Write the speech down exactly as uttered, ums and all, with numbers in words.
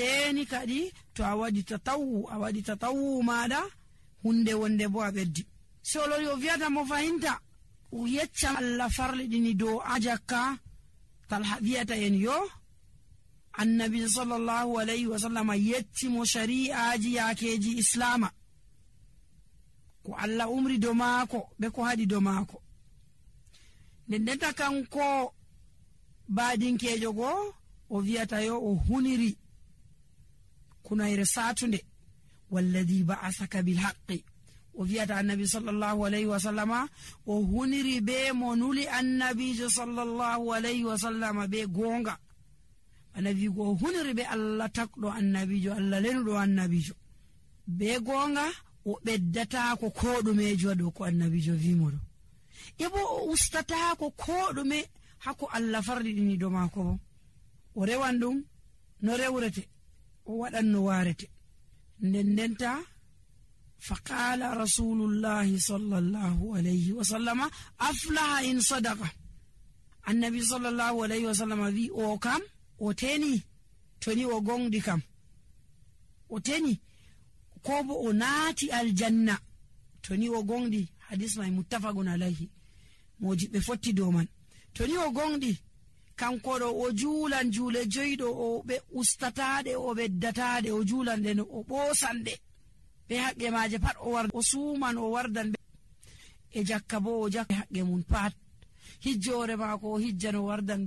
Teeni kadi to a waɗi tatawu, a waɗi tatawu maaɗa, huunde wonde bo a ɓeddi. So lori o wiyata mo fahinta, o yecca Allah farliɗini dow a jakka, Talha wiyata en yo, Annabi sallallahu alayhi wa sallam yecci mo shari'aaji yaakeeji Islaama. Ko Allah umri dow maako, be ko haɗi dow maako. Nden ndenta kanko baadinkeejo go, o wiyata yo o huniri kunayre saatunde, "Walladhi ba'athaka bil haqqi." O wiyata Annabi sallallahu alayhi wa sallama, o huniri be mo nuli Annabiijo sallallahu alayhi wa sallama be goonga. Bana wi'ugo o huniri be Allah tagɗo Annabiijo, Allah lenuɗo Annabiijo. Be goonga, o ɓeddataako koo ɗumeejo dow ko Annabiijo wi'i mo ɗo. E bo o ustataako koo ɗume haa ko Allah farliɗini dow maako bo. O rewan ɗum no rewrete, o waɗan no waarete. Nden ndenta, fa qaala Rasulullahi sallallahu alayhi wa sallama, "Aflaha in sadaqa." Annabi sallallahu alayhi wa sallama wi'i, "O kam, o teni, to ni o goonɗi kam. O teni, ko bo o naati aljanna, to ni o goonɗi." Hadis may muttafaqun alayhi. Moodiɓɓe fotti dow man. To ni o goonɗi, kanko ɗo o juulan juule joy ɗo, o ɓe ustataa ɗe, o ɓeddataa ɗe, o juulan ɗe no o ɓoosan ɗe. Be haqqe maaje pat o war-, o suuman, o wardan ɓe. E jakka bo o jakka haqqe mum pat. Hijjoore maako o hijjan o wardan ɓe